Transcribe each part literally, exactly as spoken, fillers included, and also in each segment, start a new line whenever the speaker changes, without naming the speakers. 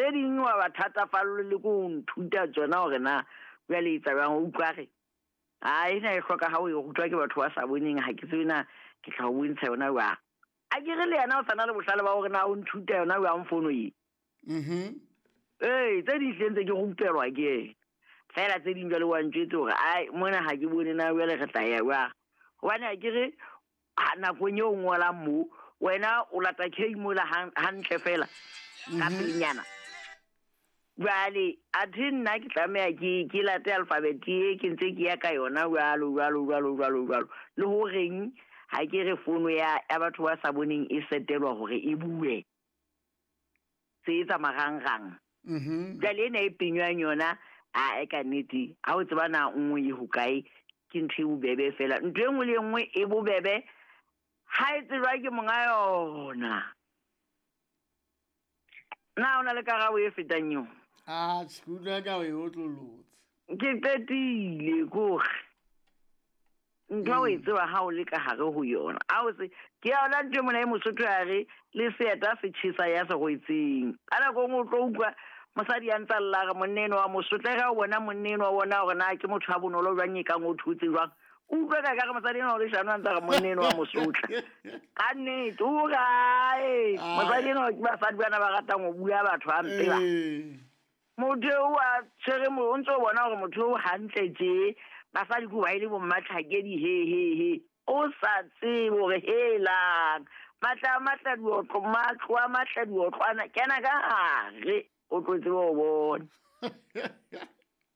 Tse ding wa ba thatafallwe le ko ho nthuta tsona hore na jwale e etsa jwang, o utlwa re a ena e hloka ha o e rutwa ke batho ba sa boneng, ha ke tsebe na ke tla o bontsha yona jwang. A ke re le yena o sa na le bohlale ba hore na o nthuta yona jwang fono e.
Mhm.
Ee, tse ding hlile ntse ke rupelwa ke yena. Feela tse ding jwale wa ntjwetse hore ai mona ha ke bone na jwale re tla ya jwang. Hobane ha ke re ha nakong eo o ngolang moo, wena o lata K mola hantle fela ka pelenyana. Jwale athe nna ke tlameha ke ke late alphabet e ke ntse ke ya ka yona jwalo jwalo jwalo jwalo jwalo. Le horeng ha ke re fono ya ya batho ba sa boneng e setelwa hore e bue. Se etsa marangrang.
Mhm.
Jwale ena e penywang yona a e ka nnete ha o tseba na nngwe e hokae ke ntho e bobebe fela. Ntho e nngwe le e nngwe e bobebe ha e tsejwa ke monga yona. Na o na le karabo e fetang eo?
Ah, ke utlwa ka o e otlolotse.
Ke qetile kore ntho o e tseba ha o le ka hare ho yona. Ha o se ke yona ntho e mona e Mosotho ya re le seeta se tjhesa ya se rwetseng. Ka nako e nngwe o tlo utlwa mosadi ya ntsa lla re monna enwa wa mosotho, ha o bona monna enwa wa bona hore na ke motho a bonolo jwang e kang o thotse jwang. O utlwe ka re mosadi enwa o leshano a ntsa re monna enwa wa mosotla. Ka nnete, o kae? Mosadi enwa ke basadi bana ba ratang ho bua batho hampe ba. Motho eo a tshwere mo, o ntso bona hore motho o hantle tje, basadi ke ba ile bo mmatlhakedi he he he. O sa tsebe hore helang. Matla a matla diotlo, matlo a matla diotlwana, kena ka hare o tlo tsebe ho bona.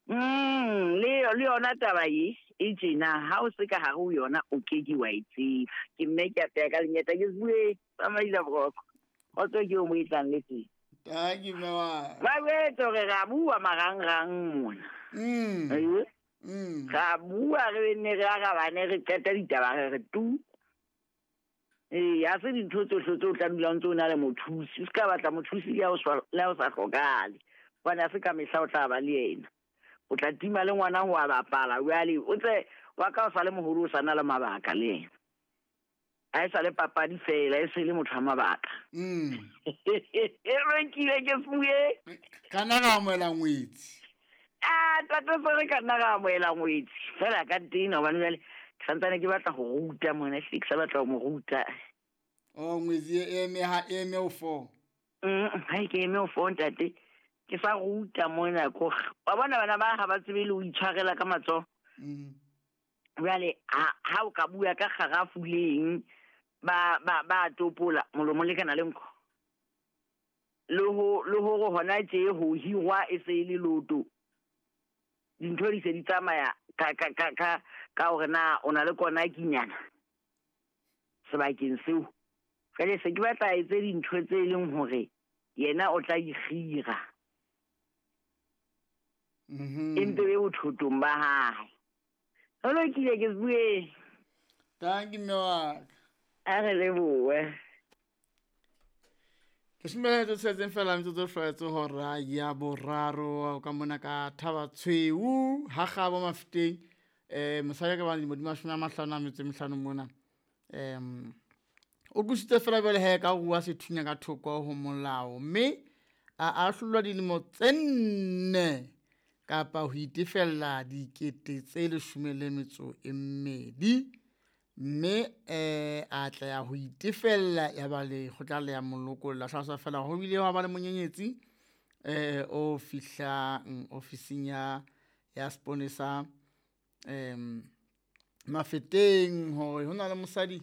Mm, le le yona taba e e tjena ha o se ka hare ho yona o ke ke wa e tseba. Ke mme ke a peha ka lenyeta ke se bue tsamaisa boroko. Kgotso ke o mo e tlang le teng.
Thank you, mme wa.
Ba jwetse hore re a bua marangrang mona.
Mm.
Ee.
Mm.
Re a bua re nne re arabane re qete ditaba re re tu. Ee, ha se dintho tsohle tseo o tla dula o ntse o na le mothusi. O ska batla mothusi le ha o sa, le ha o sa hlokahale. Hobane ha se ka mehla o tla ba le yena. O tla tima le ngwana ho a bapala. Jwale o tse wa ka o sa le moholo o sa na le mabaka le yena. Ha e sa le papadi fela, e se le motho wa mabaka.
Mm.
E rekile ke fuwe.
Ka nna ra amohela ngwetsi.
Ah, tate se re ka nna ra amohela ngwetsi. Fela ka tena hobane jwale ke santsane ke batla ho ruta mona, ehlile ke sa batla ho mo ruta.
Oh, ngwetsi e eme ha e eme ho four.
Mm, ha ke eme ho four ntate. Ke sa ruta mona ko. Wa bona bana ba ha ba tsebe le ho itshwarela ka matsoho.
Mm.
Jwale ha, ha o ka bua ka kgarafu leng ba, ba, ba topola molomo le kana le nko. Le ho, le hore hona tje ho hirwa e se e le loto. Dintho di se di tsamaya ka, ka, ka, ka, ka hore na o na le kona kinyana sebakeng seo. Jwale se ke batla etse dintho tse leng hore yena o tla ikgira.
Mhm.
E mpe be bothotong ba hae. Ho lokile ke bue.
Thank you, mme wa ka.
A re lebohe.
Ke shumela tse tshetseng fela metsotso e hlwaetse hora ya boraro ka mona ka Thaba Tshweu ha Kgabo Mafeteng. Eh, mosadi ka ba dilemo di mashome a mahlano a metso e mehlano mona. Em, o qositse fela jwale he ka ho rua sethunya ka thoko ho molao, mme a ahlolwa dilemo tse nne kapa ho itefella dikete tse leshome le metso e mmedi. Mme, eh, a tla ya ho itefella ya ba lekgotla le ya molokolla. Hlalosa fela ho bile hwa ba le monyenyetsi, eh, o fihlang ofising ya, ya seponesa, em, Mafeteng hore ho na le mosadi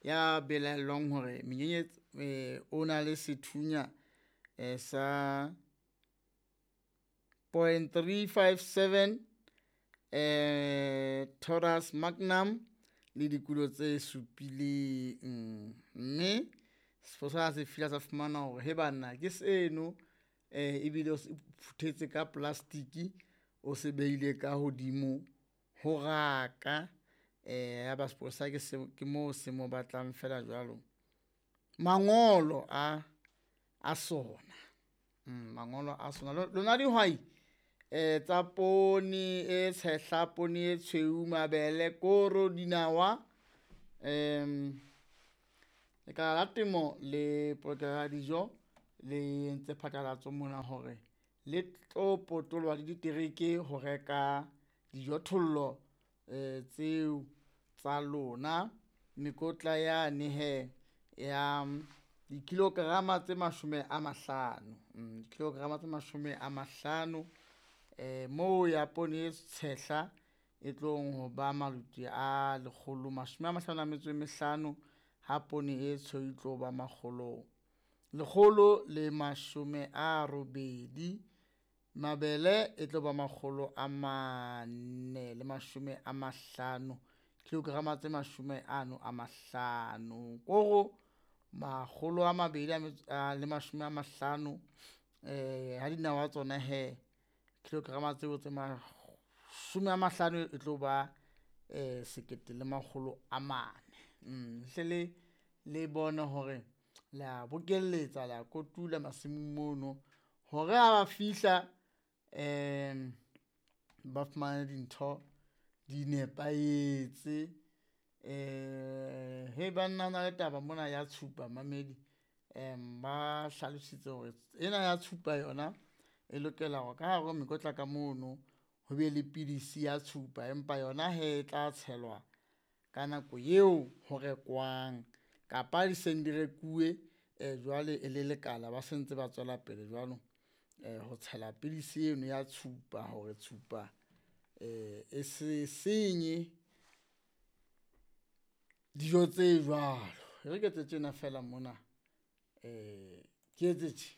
ya belaellwang hore menyenyetsi, eh, o na le sethunya, eh, sa point three five seven, eh, Taurus Magnum le dikulo tse supileng. Mme sepolesa se fihla sa fumana hore he banna ke seno, eh, ebile o se phuthetse ka plastiki, o se beile ka hodimo ho raka. Eh, ya ba sepolesa ke se, ke moo se mo batlang fela jwalo. Mangolo a, a sona. Mm, mangolo a sona. Lo-, lona dihwai, eh, tsa poone e tshehla, poone e tshweu, mabele, koro, dinawa, em, lekala la temo le polokelo ya dijo le entse phatlalatso mona hore le tlo potoloha le ditereke ho reka dijothollo um tseo tsa lona. Mekotla yane he ya dikilograma tse mashome a mahlano, mm, dikilograma tse mashome a mahlano um moo ya poone e tshehla e tlong ho ba maluti a lekgolo mashome a mahlano a metso e mehlano, ha poone e tshweu e tlo ba makgolo lekgolo le mashome a robedi. Mabele e tlo ba makgolo a mane le mashome a mahlano, kilograma tse mashome ano a mahlano. Koro makgolo a mabedi a metso a le mashome a mahlano, eh ha dinawa tsona he kilograma tseo tse mashome a mahlano e tlo ba eh sekete le makgolo a mane. Mm, hle le le bone hore la bokelletsa la kotula masimong mono hore ha ba fihla um ba fumane dintho di nepahetse. Um he banna ho na le taba mona ya tshupa mamedi, um ba hlalositse hore ena ya tshupa yona e lokela hore ka hare ho mekotla ka mono ho be le pidisi ya tshupa, empa yona he e tla tshelwa ka nako eo ho rekwang kapa di seng di rekuwe um jwale e le lekala ba se ntse ba tswela pele jwalo um ho tshela pidisi eno ya tshupa hore tshupa um e se senye dijo tse jwalo. E re ke etse tjena feela mona, um ke etse tje.